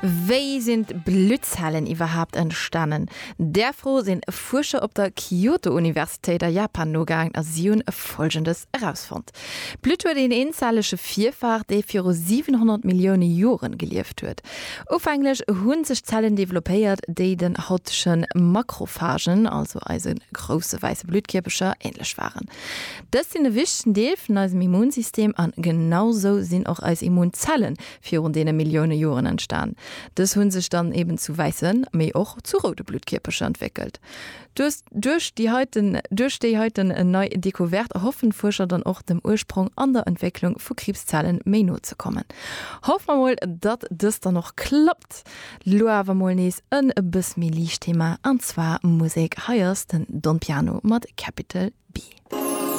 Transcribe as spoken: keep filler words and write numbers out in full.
Wéi sinn d'Bluttzellen iwwerhaapt entstanen? Där Fro sinn Fuerscher op der Kyoto-Universitéit a Japan nogaangen a si hunn Folgendes erausfonnt, D'Blutt huet een eenzellege Virfar, dee viru siwenhonnert Millioune Joren gelieft huet. Ufänglech hu sech Zellen developpéiert, déi den hautege Makrophagen, also eise grousse wäisse Bluttkierpercher, änlech waren. Dës sinn e wichtegen Deel vun eisem Immunsystem an genau sou sinn och eis Immunzellen virun deene Millioune Joren entstan. Dës hunn sech dann eben zu wäissen, mee och zu roude Bluttkierpercher entwéckelt. Duerch duerch déi heiten duerch déi heiten nei Decouverte erhoffen d'Fuerscher dann och dem Ursprong an der Entwécklung vu Kriibszellen méi no ze kommen. Hoffe mer mol, datt dëst dann och klappt. Lo awer mol nees en e bëss méi liicht Thema, an zwar Musek. Hei ass den Don Piano mat Capital B.